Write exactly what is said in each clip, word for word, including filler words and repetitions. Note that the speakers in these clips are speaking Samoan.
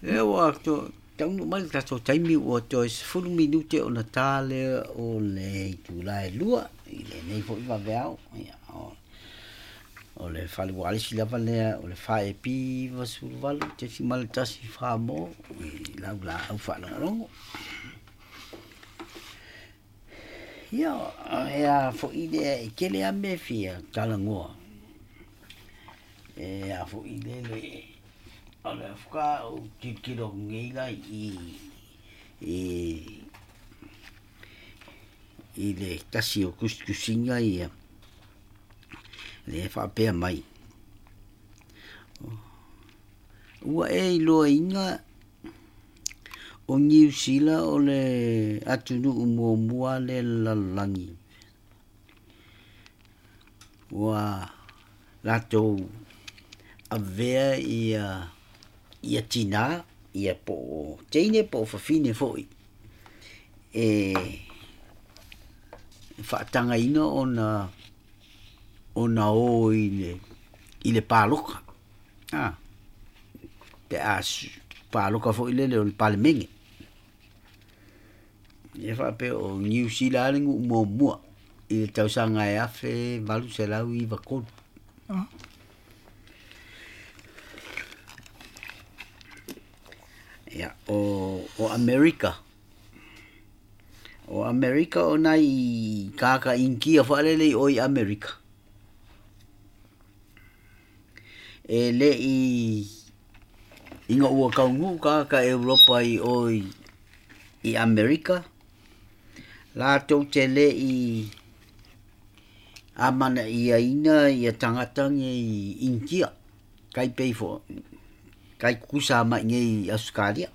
E ua to taunuu mai le tatou taimi ua toe sefulu minute ona tā lea o le itula e lua i lenei fo'i vaveao. Ia o o le fale ualesi lava lea o le fa e pi iva sefulu valu tesimale tasi fa mo i lau laau faalogologo. Ia e a fo'i lea e tele a mea e fia talanoa. E a fo'i lele o le faatoa ou tilotilo atu nei la i i i le tasi o tusitusiga ia lea e faapea mai. Ua e iloaina o Niu Sila o le atunuu muamua lea i le lalolagi ua latou avea ia ia tinā ia po o teine po o fafine fo'i e faatagaina ona ona o i le i le paloka a pe a paloka fo'i lele o le Palemene. Ia faapea o Niu Sila le nuu muamua i le tausaga e afe valu selau iva tolu. Ia o o Amerika o Amerika o nai kāka Initia faalele i o i Amerika. E le'i ina ua taunuu tagata Europa i o i i Amerika latou te le'i amanaiaina ia tagata nei Initia tai pei fo'i tai tutusa ma i inei i Ausetalia.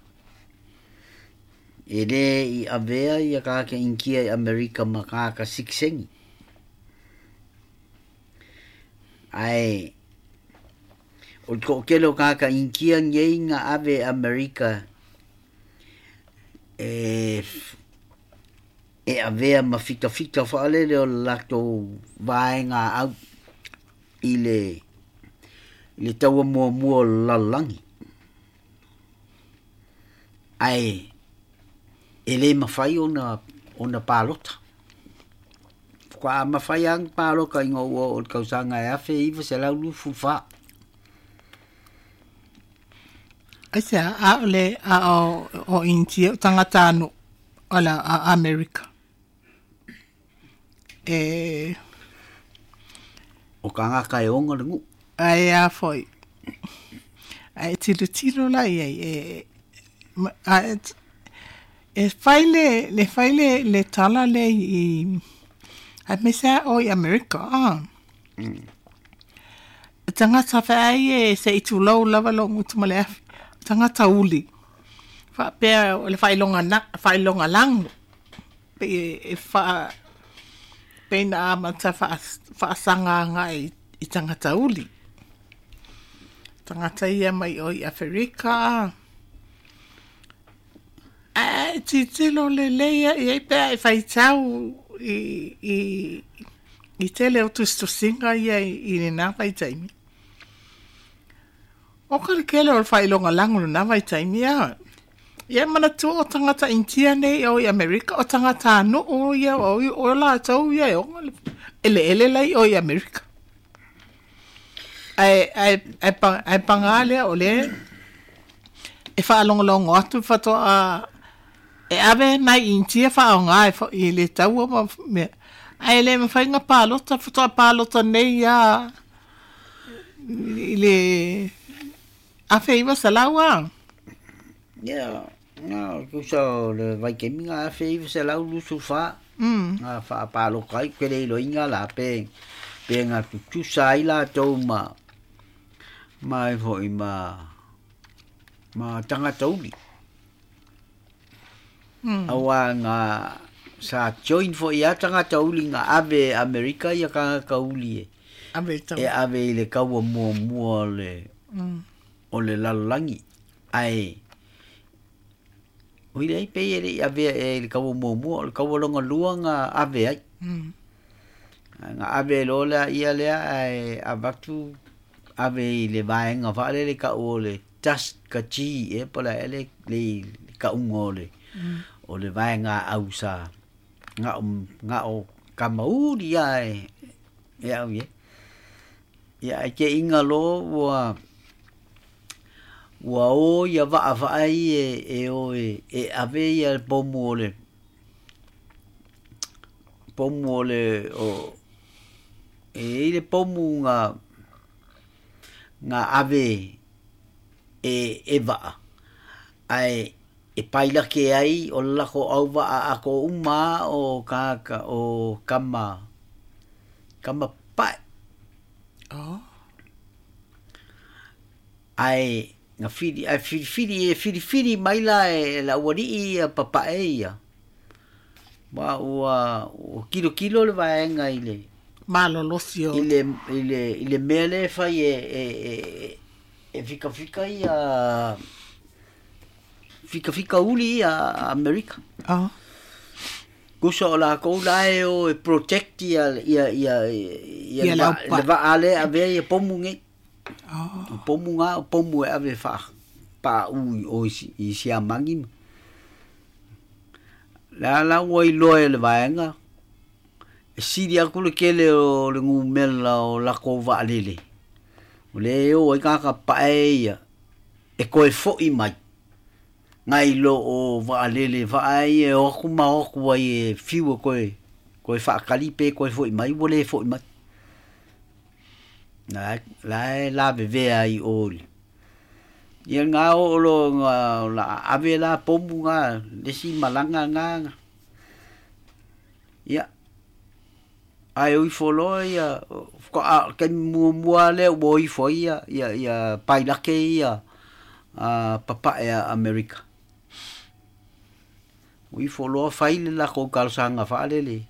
E lē i avea ia tagata Initia i Amerika ma tagata sitiseni. Ae o le toatele o tagata Initia nei na ave i Amerika e e avea ma fitafita faalele o le latou vaegaau i le i le taua muamua o le lalolagi. Ae e lē mafai ona ona palota. Faatoa mafai lava ona palota ina ua oo i le tausaga e afe iva selau luasefulu fa. Aisea a o le a o o Initia o tagata anu o la a Amerika e O tagata e ona le nuu. Ae a foi ae tilotilo la i ai e a e fai le le fai le le tala le i aemaise a o i Amerika a tagata feai e se i tulou lava lou gutu ma le afi tagata uli faapea o le faailoga na faailoga lago pei e faa pei na amata faasaga agai i tagata uli tagata ia mai o i Aferika ae tilotilo lelei i ai pe a e faitau i i i tele o tusitusiga ia i lena vaitaimi. O ka le kele o le faailoga lago lena vaitaimi a. Ia manatua o tagata Initia nei o i Amerika o tagata nuu ia o o latou ia e ona le eleele lai o i Amerika. Ae ae ae ae paga lea o le e faalogologo atu faatoa e ave nai Initia faaaoga e fo'i i le taua ma mea. Ae le mafai ona palota faatoa palota nei a i le afe iva selau a. Ia na tusa o le vaitaimi na afe iva selau luasefulu fa na faapaloka ai ou te le iloaina la pe pe na tutusa ai latou ma ma e fo'i ma ma tagata uli. Auā na sa join fo'i lava tagata uli na ave e Amerika ia tagata uli e e ave i le taua muamua o le o le lalolagi. Ae oi leai pei e le'i avea ea i le taua muamua o le taua lona lua na ave ai. Na ave loa laia lea ae avatu ave i le vaega faalele ta'u o le tas ka chi e po la ele le ka ungo le o le vaega au sa nga nga o kamauri ai e au ye ia ke inga lo ua ua o ia va va ai e e o e e ave ia pomu o le pomu o le o e i le pomu nga nga ave e e va ai e paila ke ai o la ko au va a ko uma o ka ka o kama kama pa oh ai nga fili ai fili fili e fili fili mai la e la wari i papa e ia ma ua o kilo kilo le vaenga i le malolosio i le i le i le mele fai e e e e fika fika ia fika fika uli ia Amerika oh kuso o la ko la e o e protect ia ia ia ia Ia le va lau pa. le va ale ave ia pomu nge oh o pomu nga o pomu e ave fa pa u o i si i si amangi la la ua i loa e le vaenga e sili aku le kele o le ngumela o lako vaalele o le o ai kaka pae ia e koe fo'i mai ngai lo o vaalele vaai e o aku ma o aku ai e fiu e koe koe whaakali pe koe fo'i mai ua le fo'i mai la la e la vevea i oli ia ngā o lo ngā la ave la pomu ngā lesi malanga ngā ngā. Ia ai ui folo ia ko a ke mua mua le o i fo ia ia ia pailake ia a papa e Amerika ui folo fai le la ko kalsanga whaalele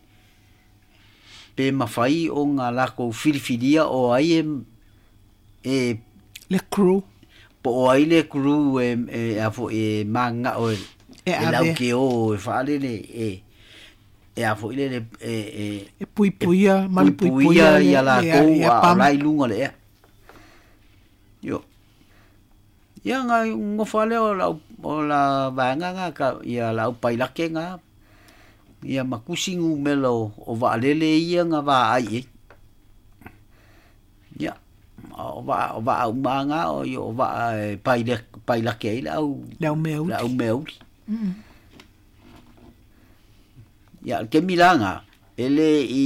pe mawhai o ngā lako filifilia o ai e e le crew po o ai le crew e e a fo e manga o e e lau ave ke o e whaalele e e a fo ile le e e e puipuia ma le puipuia puipuia ia la le kou ia a o pam lai lunga le ea. Io. Ia ngā ngofa lea o lau o la vaenga ngā ka ia lau pailake ngā ia makusi ngumela o, o vaalele ia ngā vā ai e. Ia. O va o va uma ngā o i o va e paile pailake ai le au le au mea le au uti mea uli. Mm. Ia ke milanga ele i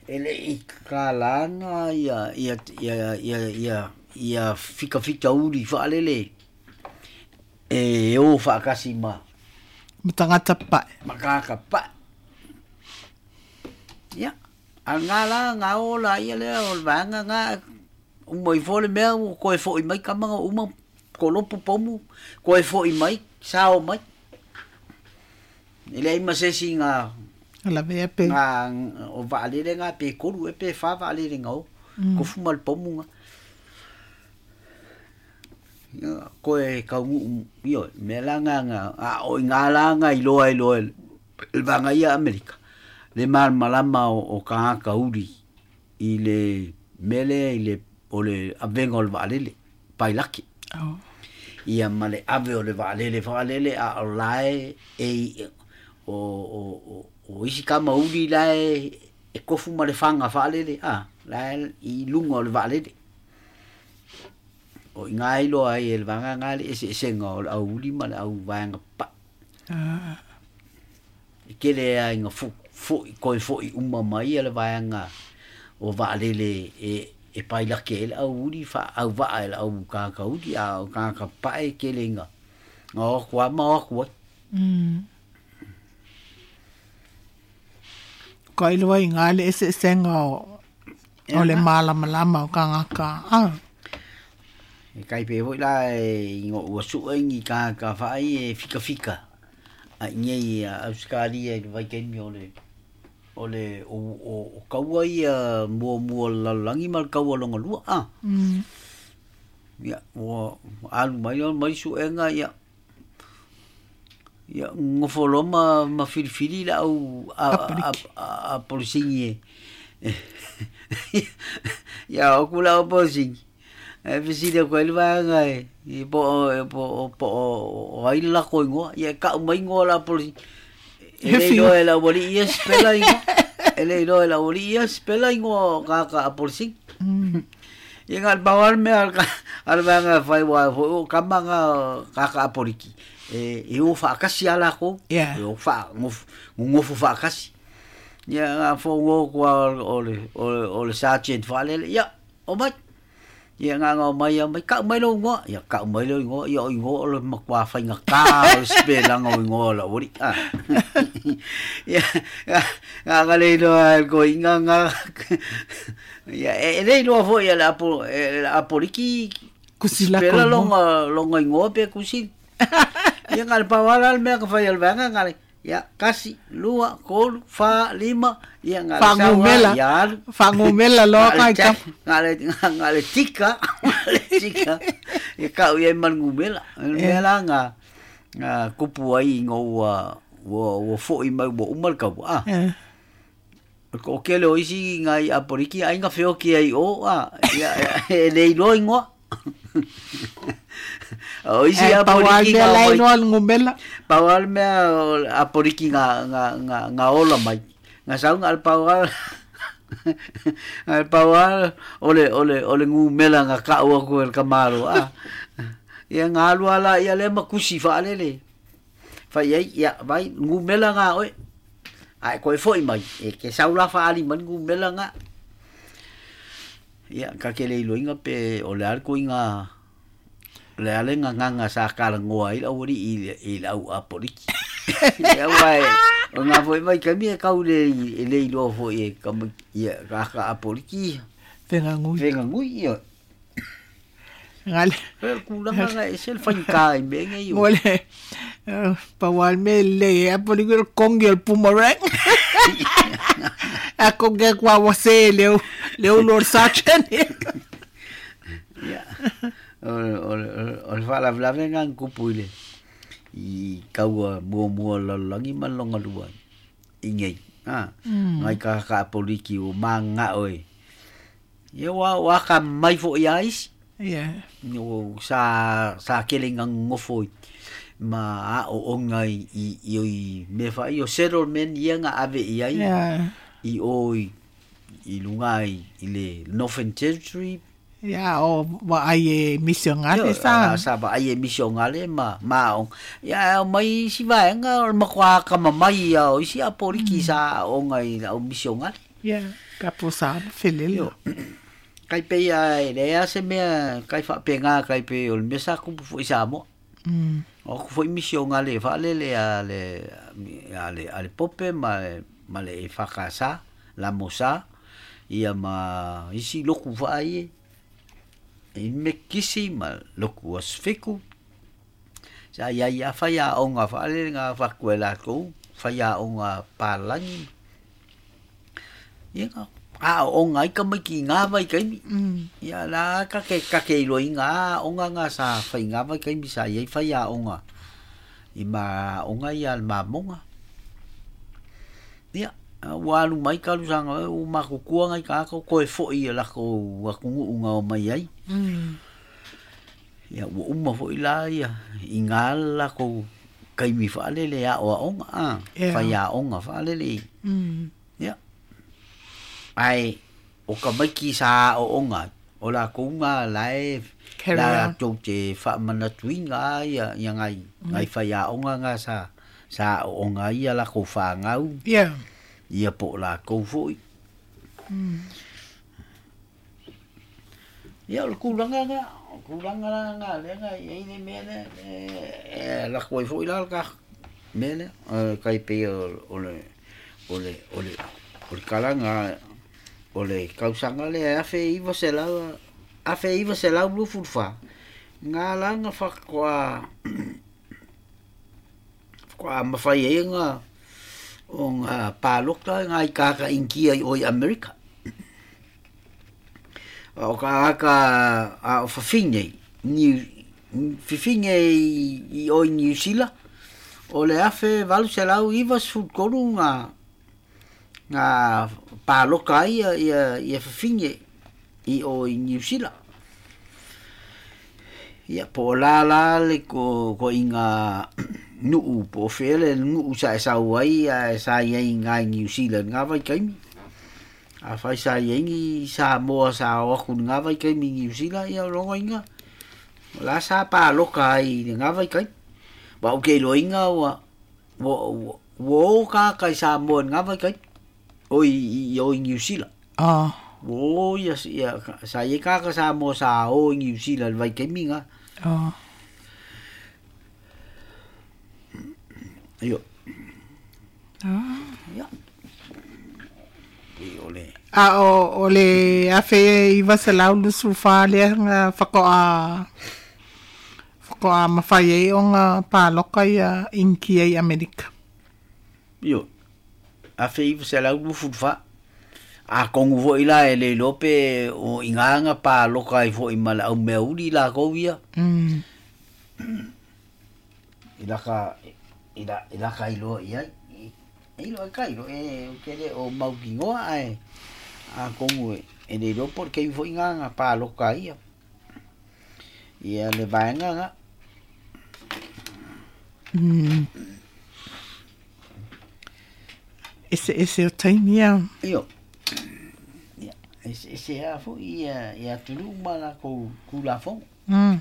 ele i kalanga ia ia ia ia ia ia fika fika uri whaalele e o whaakasi ma ma tangata pae makaka pa ia a ngā la ngā o la ia lea o le vaega ngā uma i fo le mea ua koe fo'i mai kamaga uma kolopu pomu koe fo'i mai sao mai e leai ma se isi ngā lavea pe ngā o vaalele ngā pe kolu e pe whā vaalele ngā o mm. kofu ma le pomu ngā ia koe kaungu io me la ngā ngā a o i ngā la ngā i loa i loa le vanga ia Amerika le malama o, o kāka uri i le mele i le o le avenga o le vaalele pailaki oh ia ma le ave o le vaalele vaalele a o lae e i- o o o o isi kama uri lae e kofu ma le whanga whaalele a lae i lunga o le vaalele o i ngā iloa ai e le vanga ngā le ese esenga o le au uri ma le au vaenga pa ah e kele ai ngā fo fo koe fo i uma mai a le vaenga o vaalele e e pailake e le au uri wha au vaa e le au kāka uri a o kāka pae kele ngā ngā o kua ma o kua mm. Ka iloa i ngā le ese esenga o o le malamalama o kangaka ah E kai pe hoi la e i ngō ua sua ingi ka ka whaai e fika fika. A inge i a Australia i le waikaimi o le o le o, o, o kaua ia mua mua lalolangi ma le kaua longa lua a. mm. Ia ua alu mai o mai suenga ia ia ngofo ma ma filifili la au a a Apaliki. a, a polisingi e. Ia o kula o polisingi. E fesili aku ai le vaega e i po o po o po o ai le lako igoa ia e ka'u mai igoa o le apolisi e He le fiu. iloa e le auali'i ia sipela igoa e le iloa e le auali'i ia sipela igoa o kāka apolisi ia ga le pau lava le mea a le vaega e fai uae fo'i o kama ga kāka apoliki e e o fa'akasi a lakou Yeah. e o fa'a gogofo fa'akasi ia ga fogo kua o le o le o le sergeant fa'alele ia o mai ia nga nga mai ia mai ka'u mai lou igoa ia ka'u mai lou igoa ia o igoa o le makuā faigatā o le sipelaga o igoa o le auali'i a ia ga ga le iloa e le koiga ga ia e le iloa fo'i e le apo e le apoliki Kusi lako sipela igoa. loga loga igoa pe kusi ia ga le pau lava le mea ka fai a le vaega ga le ia kasi lua tolu fa lima ia ga le sau Fa'agumela. ia alu Fa'agumela loa ga le kai check kama. ga le ga le tika ga le tika ia ka'u i ai ma le gumela o le mea la ga ga kupu ai ina ua ua ua fo'i mai ua uma le kaua a Yeah. o kele o isi ngai apoliki aiga feoki ai o a ia e le iloa igoa o isi E pau a apoliki mea ga la mai iloa le gumela. pau lava le mea o le apoliki ga ga ga ga ola mai ga sau ga le pau lava ga le pau lava o le o le o le gumela ga ka'u aku e le kamalo a ia ga alu ala ia lea ma kusi fa'alele fai ai ia vai gumela ga oe ae koe fo'i mai e ke sau la fa'ali mai le gumela ga ia ka ke le iloiga pe o le a le koiga le a le gagaga sa kalagoa ai le auali'i i le i le au apoliki ia uae o gā fo'i mai kaimi e kau le e le iloa fo'i e kama ia kaka apoliki Fegagui. fegagui ia Gale. e le kulaga ga e se le faigā i mea nei o Ngole. Pau a le mea lelei e apoliki o le kongi o le boomerang. A kongi aku a wase le au le au lord sergeant. ia o le o le o le fa'alavelave ga na kupu i le i kaua muamua o le lalolagi ma le logalua i nei a ngai kakaapoliki ua magaga'o e ia ua ua akamamai fo'i a isi Yeah. o sa sa kele gagogofo i ma a'o'oga i i i i mea fa'i o settlement ia ga ave i ai Yeah. i o i i luga i i le Northern Territory Yeah, o wa ai e misionale Io, sa. a sa vaai e misionale ma ma aoga ia e omai isi vaega o le makuā akamamai ia o isi apoliki sa a'o'oga i le au misionale Yeah, ka posa felele. Io. Kai pei a e lea se mea kai fa'apegā kai pei o le mea sa kupu fo'i Samoa Mm. o aku fo'i misionale fa'alele a le a le a le pope ma le ma le e fakasa lamosa ia ma isi loku fa'ai e mekisi ma loku asfiku sa ia ia fai a'oga fa'alele ga faku e lakou fai a'oga palagi ia ga a'o'oga ai tamaiti i gā vaitaimi Mm. ia la ka ke ka ke iloiga a'oga ga sa faiga vaitaimi sa iai fai a'oga i ma a'oga ia le mamoga ia ua alu mai talusaga ua makukua gai tagata koe fo'i e lakou atunu'u na o mai ai Mm. ia ua uma fo'i la ia i gā le lakou kaimi fa'alele a'oa'oga a Yeah. fai a'oga fa'alele Mm. ia ae o ka maiki sa a'o'oga o lakou ga lae Carry la on. tou te fa'amanatuiga ia ia gai gai fai a'oga ga sa sa a'o'oga ai ia lakou fagau Yeah. ia po o lakou fo'i ia o le kulaga ga o kulaga la ga lea ga i ai le mea lea e lako ai fo'i la le ka mea lea e kai pei o o le o le o le o le kalaga o le kausaga lea afe iva selau afe iva selau luafulufa ga la ga fa'atoa faatoa mafai ai ga o ga palota ga i kaka'inikia i o i Amerika o ka aka a o fafine ni fifine i, i o i New Zealand o le afe valu selau iva sefulu tolu ga ga paloka ai ia ia ia fafine i o i New Zealand Ia po o la la le ko ko inga nuu po fele nuu sa sa wai a sa ia ngai New Zealand nga vai kaimi. A fai sa ia ni sa moa sa o ku nga vai kaimi New Zealand ia longo inga. La sa pa loka ai nga vai kai. Ba o ke lo inga wa wo wo ka kai sa moa nga vai kai. O i o New Zealand. Ah. Wo ia ia sa ia ka ka sa moa sa o New Zealand vai kaimi nga. Oh. Io. Ah. Ia. I ole. A o o le afe i vaselau lusu fa le nga whakoa whakoa mawhai e o ngā pāloka ia inki e Amerika. Io. Afe i vaselau lusu fa. A kongu fo ila e le lope o inganga pa loka i fo i mala au mea uri la kou ia. Mm. Ila ka ila ila ka ilo ia i lo ka ilo e o kele o maukingoa ai a kongu e le lopo ke i fo inganga pa loka ia. Ia le vaenga nga. Mm. Ese ese o taimia. Io. Ese a fo ia ia tulu mala ko kula fo. Mm.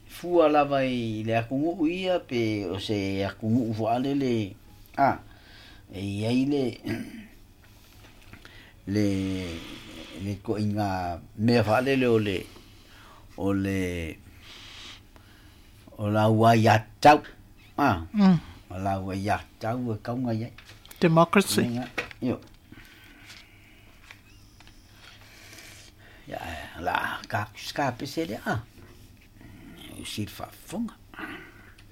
Fua lava i le akungu ia pe o se akungu fo ale le a e ia i le le le ko inga mea fa le o le o le o la ua ia tau a mm. O la ua ia tau e kaunga ia democracy. Io. Ja, la ka ska pesele a. O sir fa fonga.